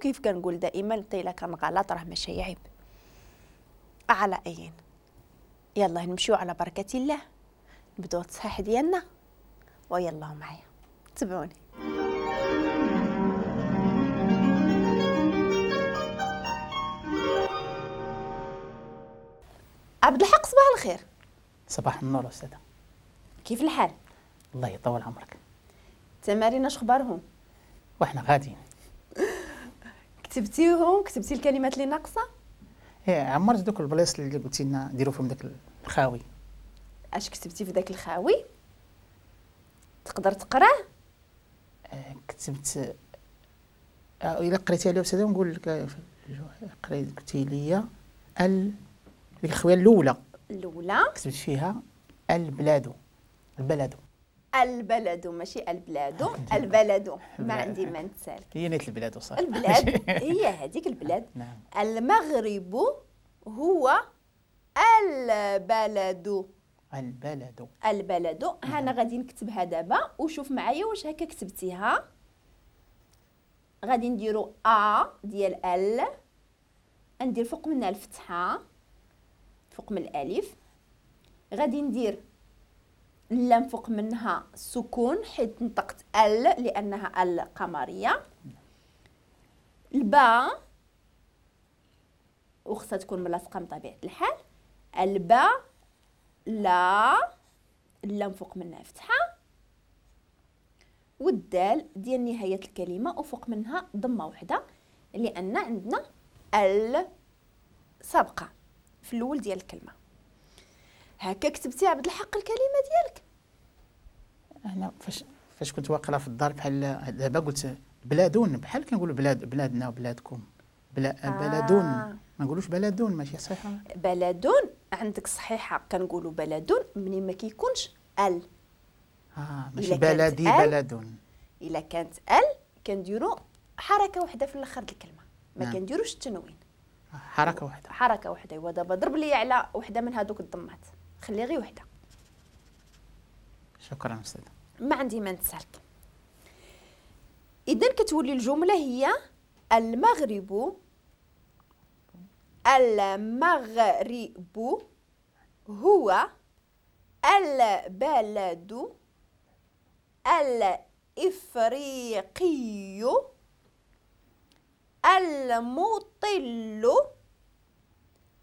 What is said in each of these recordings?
وكيف كنقول دائما حتى الا كان غلط راه ماشي عيب. على اين يلا نمشيو على بركة الله، نبداو التصحيح ديالنا، ويلا معايا تبعوني. عبد الحق صباح الخير. صباح النور أستاذة. كيف الحال؟ الله يطول عمرك. التمارين اش اخبارهم؟ وحنا غاديين. كتبتيهم؟ كتبتي الكلمات اللي ناقصه؟ ايه عمرت دوك البلايص اللي قلتي لنا نديرو فيهم داك الخاوي. اش كتبتي في داك الخاوي؟ تقدر تقراه؟ كتبت الا قريتيها لي أستاذة نقول لك. قريت قلتي لي ديك الخويه الاولى كتبت فيها البلاد. البلد البلد ماشي البلاد، البلد ما عندي ما نتسالك. هي نيت البلاد وصافي. البلاد هي هذيك البلاد. نعم. المغرب هو البلد. البلد البلد. انا غادي نكتبها دابا وشوف معايا واش هكا كتبتيها. غادي نديرو ا ديال ال، ندير فوق منها الفتحة فوق من الالف، غادي ندير اللام فوق منها السكون حيت نطقت ال لانها ال قمريه، الباء وخصها تكون ملاصقه بطبيعة الحال، الباء لا اللام فوق منها فتحه، والدال ديال نهاية الكلمة وفوق منها ضمه وحده لان عندنا ال سابقه في الاول ديال الكلمة. هكا كتبتي عبد الحق الكلمة ديالك؟ انا فاش كنت واقله في الدار بحال دابا قلت بلادون، بحال كنقولوا بلاد بلادنا وبلادكم، بلادون ما نقولوش بلادون، ماشي صحيحه. بلادون عندك صحيحه، كنقولوا بلادون منين ما كيكونش ال. ماشي بلدي بلدون. الا كانت ال كنديروا حركة وحده في الاخر الكلمة، ما نعم. كنديروش التنوين، حركة وحده، حركة وحده. ايوا دابا ضرب لي على وحده من هذوك الضمات، خلي غير وحده. شكرا استاذه. ما عندي ما نتسالك. اذا كتولي الجملة هي المغرب، المغرب هو البلد الافريقي المطل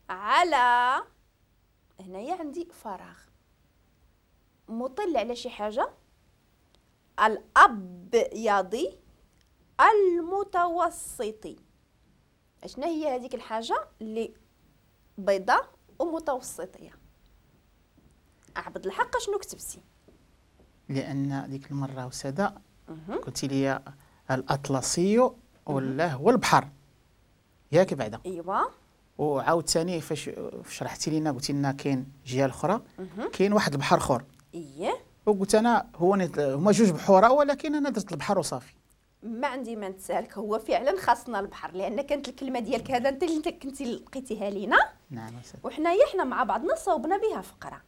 على، هنايا عندي فراغ، مطل على شي حاجة، الابيض المتوسطي. اشنا هي هذيك الحاجة اللي بيضاء ومتوسطيه؟ عبد الحق شنو كتبتي؟ لان ديك المرة أستاذة قلتي لي الاطلسي ولا هو البحر، ياك بعدا؟ ايوا. وعاود ثاني فاش شرحتي لينا قلتي لنا كاين جهة اخرى، كاين واحد البحر اخر. اييه. وقلت انا هو هما جوج بحوره، ولكن انا درت البحر وصافي. ما عندي ما نتسالك، هو فعلا خاصنا البحر لان كانت الكلمة ديالك هذا انت اللي كنتي لقيتيها لينا. نعم. وحنايا حنا مع بعضنا صوبنا بها فقره.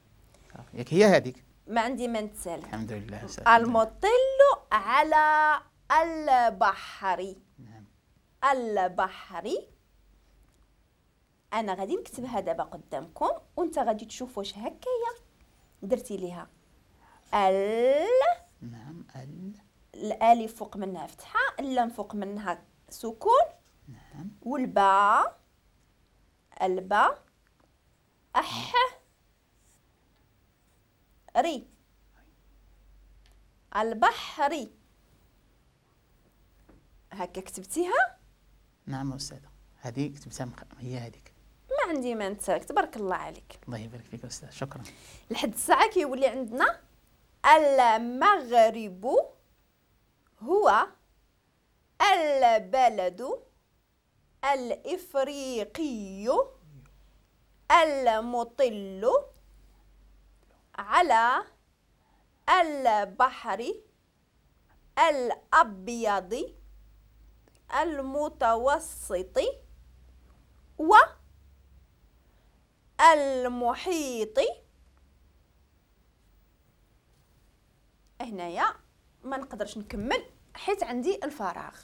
ياك هي هذيك. ما عندي ما نتسالك. الحمد لله. المطل على البحر. نعم. البحر. انا غادي نكتبها دابا قدامكم وانت غادي تشوف واش هكايا درتي ليها ال. نعم. ال، الالف فوق منها فتحه، اللام فوق منها سكون. نعم. والباء، الباء اح ري، البحري. هكا كتبتيها؟ نعم أستاذة، هذه كتبتها هي هذيك. ما عندي ما نتسالك، تبارك الله عليك. الله يبارك فيك أستاذ، شكرا. لحد الساعة كيولي عندنا المغرب هو البلد الإفريقي المطل على البحر الأبيض المتوسط والمحيط. هنايا ما نقدرش نكمل حيت عندي الفراغ.